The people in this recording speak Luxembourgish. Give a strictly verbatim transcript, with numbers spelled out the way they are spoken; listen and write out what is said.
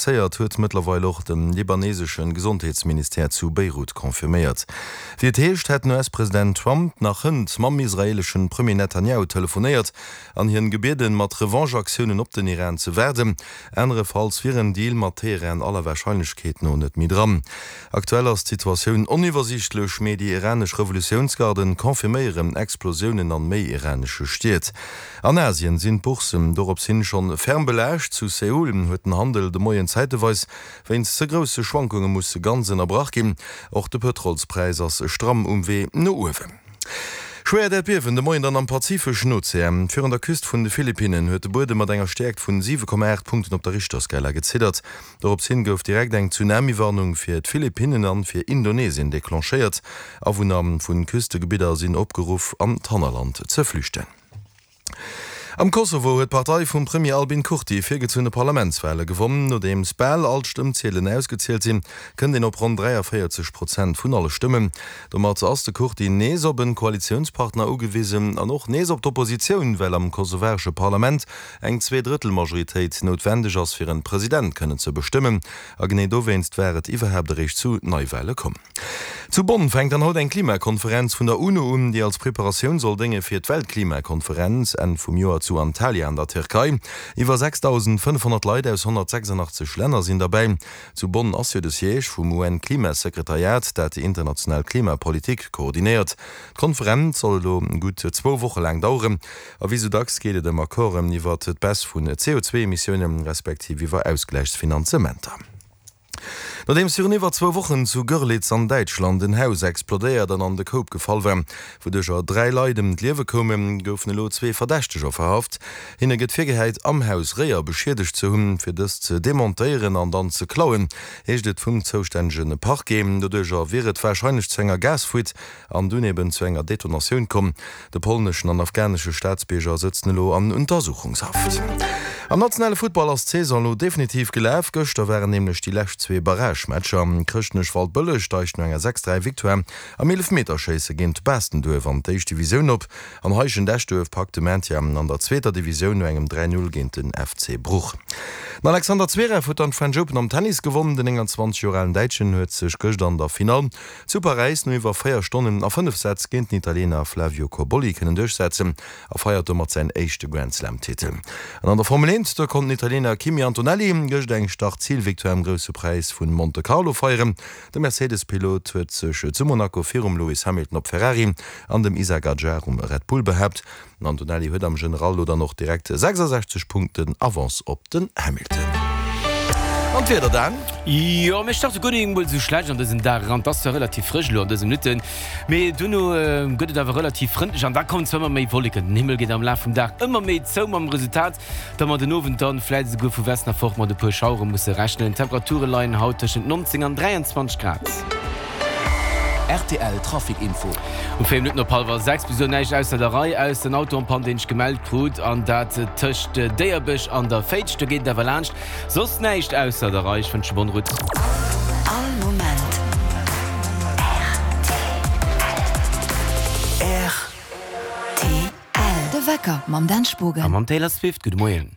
blesséiert, huet mëttlerweil och de libaneesesche Gesondheetsministère zu Beirut confirméiert. Wéi et heescht, hätt den US-President Trump nach hënt mam israeeleschen Premier Netanjahu telefonéiert an hien gebieden, mat Revanche-Aktiounen op den Iran ze waarden. Anerefalls wier en Deal mat Teheran aller Warscheinlechkeet no net méi dran. Aktuell ass d'Situatioun oniwwersiichtlech, mee déi iranesch Revolutiounsgarden confirméieren Explosiounen an méi iranesche Stied. An Asien sinn d'Bourssen dorops hin schonn ferm belaascht. Zu Seoul huet den Handel de Moien zäiteweis wéinst ze grousse Schwankunge musse ganz ënnerbrach ginn. Och de Pëtrolspräis ass stramm um Wee no uewen. Schwéiert Äerdbiewen de Moien dann am Pazifeschen Ozean. Virun der Küst vun de Philippinnen huet de Buedem mat enger Stäerkt vun siwe Komma aacht Punkten op der Richterskala geziddert. Dorops hin gouf direkt eng Tsunami-Warnung fir d'Philippinnen an fir Indonesien declenchéiert. Awunner vun Küstegebidder sinn opgeruff an d'Hannerland ze flüchten. Am Kosovo huet d'Partei vum Premier Albin Kurti virgezunne Parlamentswale gewonnen. Nodeems bal all d'Stëmmziedelen ausgezielt sinn, kënnt een op ronn dräiavéierzeg Prozent vun alle Stëmmen. Domat ass de Kurti nees op en Koalitiounspartner ugewisen an och nees op d'Oppositioun, well am kosovaresche Parlament eng Zweedrëttelmajoritéit noutwendeg ass, fir en President kënnen ze bestëmmen. A genee dowéinst war et iwwerhaapt eréischt zu Neiwale komm. Zu Bonn fänkt dann haut eng Klimakonferenz vun der UNO un, déi als Preparatioun soll dénge fir d'Weltklimakonferenz Enn vum Joer zu Antalya an der Tierkei. Iwwer sechsdausendfënnfhonnert Leit aus honnertsechsandachtzeg Länner sinn derbäi. Zu Bonn ass jo de Siège vum U N-Klimasekretariat, dat déi international Klimapolitik koordinéiert. D'Konferenz soll elo gutt zwou Woche laang daueren a wéi sou dacks geet et ëm Accorden iwwer d'Baisse vun C O zwee Emissiounen, respektiv iwwer Ausgläichsfinanzementer. Nodeems virun iwwer zwou Wochen zu Görlitz an Däitschland en Haus explodéiert an an de Koup gefall war, wouduercher dräi Leit ëm d'Liewe koumen, goufen elo zwee Verdächteger verhaft. Hinne gëtt virgehäit, am Haus Réier beschiedegt ze hunn, fir dës ze demontéieren an dann ze klauen, heescht et vum zoustännege Parquet. Doduercher wier et warscheinlech zu enger Gasfuite an dunn eben zu enger Detonatioun komm. De polneschen an afghanesche Staatsbierger sëtzen elo an Untersuchungshaft. Am nationale Futtball ass d'Saison elo definitiv gelaf. Gëschter waren nämlech déi lescht zwee Barragematcher. Chrëschtnech-Waldbëlleg steigt no enger sechs dräi Victoire am Eelefmeterschéisse géint Baastenduerf an d'éischt Divisioun op an Heischent-Eschduerf packt de Maintien an der zweeter Divisioun no engem dräi null géint den F C Bruch. Den Alexander Zverev huet dann d'French Open am Tennis gewonnen. Den nénganzwanzeg Joer alen Däitschen huet sech gëscht an der Finall zu Paräis no iwwer véier Stonnen a fënnef Sätz géint den Italiener Flavio Cobolli kënnen duerchsetzen a feiert domat säin éischte Grand-Slam-Titel. An an der Formel eent, do konnt den Italiener Kimi Antonelli gëscht eng Start-Zil-Victoire am Grousse Präis vu Monte Carlo feieren. De Mercedes-Pilot huet sech zu Monaco virum Lewis Hamilton op Ferrari an dem Isack Hadjar um Red Bull behaapt. Den Antonelli huet am General elo dann och direkt sechsasechzeg Punkten Avance op den Hamilton. An d'Wieder dann? Jo, mir starte guer net emol esou schlecht an dësen Dag eran. Et ass zwar relativ frësch elo an dëse Minutten, mee duerno gëtt et awer relativ frëndlech an da kommen zwar ëmmer méi Wolleken. Den Himmel geet am Laf vum Dag ëmmer méi zou, mam Resultat, datt mer den Owend dann vläit esouguer vu Westen erfort mat e puer Schauere musse rechnen. D'Temperature leien haut tëschent neunzéng an dräianzwanzeg Grad. R T L Trafic Info. Um véier Minutten op hallwer sechs bis elo näischt ausser der Rei, ausser den Auto en panne, deen ech gemellt krut, an dat tëscht Déierbech an der Féitsch. Do geet et awer laanscht. Soss näischt ausser der Rei. Ech wënsche bonne route. All Moment R T L. De Wecker mam Dan Spogen. A mam Taylor Swift. Gudde Moien.